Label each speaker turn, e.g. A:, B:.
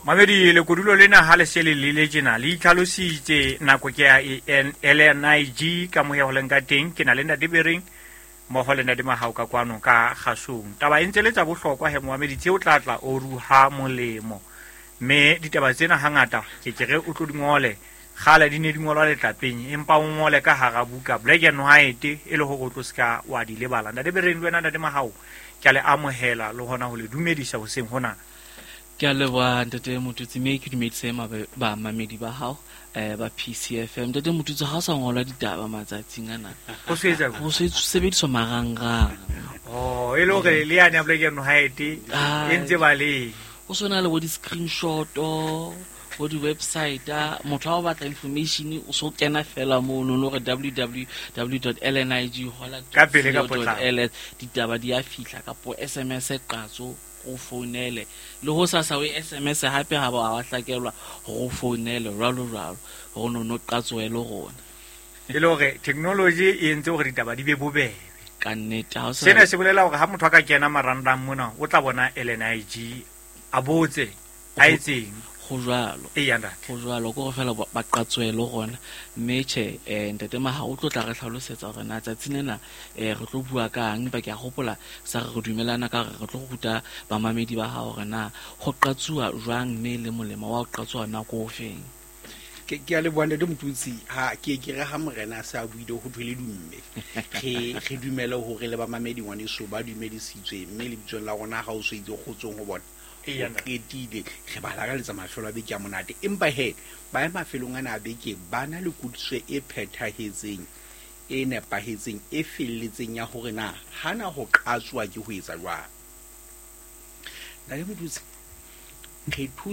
A: Mamedi, lekodulo lena ha le se le lele tjena le itlhalositse. Nako ke ya LNIG ka moya ho leng ka teng. Ke na le Ntate Bereng mmoho le Ntate Mahao ka kwano ka kgasong. Taba e ntse le tsa bohlokwa he momamedi, tse o tla tla o ruha molemo, mme ditaba tsena hangata ke ke re o tlo di ngole. Kgale di ne di ngolwa letlapeng, empa o ngole ka hara buka, black and white, e le hore o tlo seka wa di lebala. Ntate Bereng le wena Ntate Mahao, ke a le amohela le hona ho le dumedisa hoseng hona.
B: Ke a leboha, Ntate Motutsi, mme ke dumedise bamamedi ba hao ba PCFM. Ntate Motutsi, ha o sa ngolwa ditaba matsatsing ana.
A: Ho se etsa
B: ho se sebediswa marangrang.
A: Oh, e le hore le yane ya black and white e ntse ba le
B: ho sona le bo di-screenshot, bo di-website. Motho ha o batla information, o so kena fela mono no re www lnig hola
A: Ka pele, ka potlako.
B: ls, ditaba di a fihla, kapo SMS qatso, o founele le ho sasa o SMS hape ha ba wa hlakelwa hore o founele, jwalo jwalo, hore no qatsoe le rona.
A: E le hore technology e entse hore ditaba di be bobebe.
B: Ka nnete, ha o sa
A: Sena se bolela hore ha motho a ka kena marangrang mona, o tla bona LNIG, a botse a etseng.
B: Go jwalo.
A: Eya, ntate.
B: Go jwalo, ke gore fela ba qatsoe le rona. Mme tjhe, Ntate Maha o tlo tla re tlhalosetsa hore na tsatsing lena re tlo bua kang, empa ke a gopola sa re re dumelana ka hore re tlo ruta bamamedi ba hao hore na go qatsuwa jwang, mme le molemo wa ho qatsuwa nako o feng.
C: Ke a leboha, Ntate Motutsi. Ha ke ke re ha morena a se a buile, ho thwe le dumme. Re dumele hore le bamamedi ngwaneso ba dumedisitswe, mme lebitsong la rona ha o so itse kgotsong ho bona.
A: Eya,
C: O
A: ntate.
C: qetile, re ba lakaletsa mafelo a beke a monate, empa he ba ya mafelong ana a beke ba na le kutlwisiso e phethahetseng, e nepahetseng, e felletseng ya hore na hana ho qatsoa ke ho etsa jwang. Ntate Motutsi, re thusa.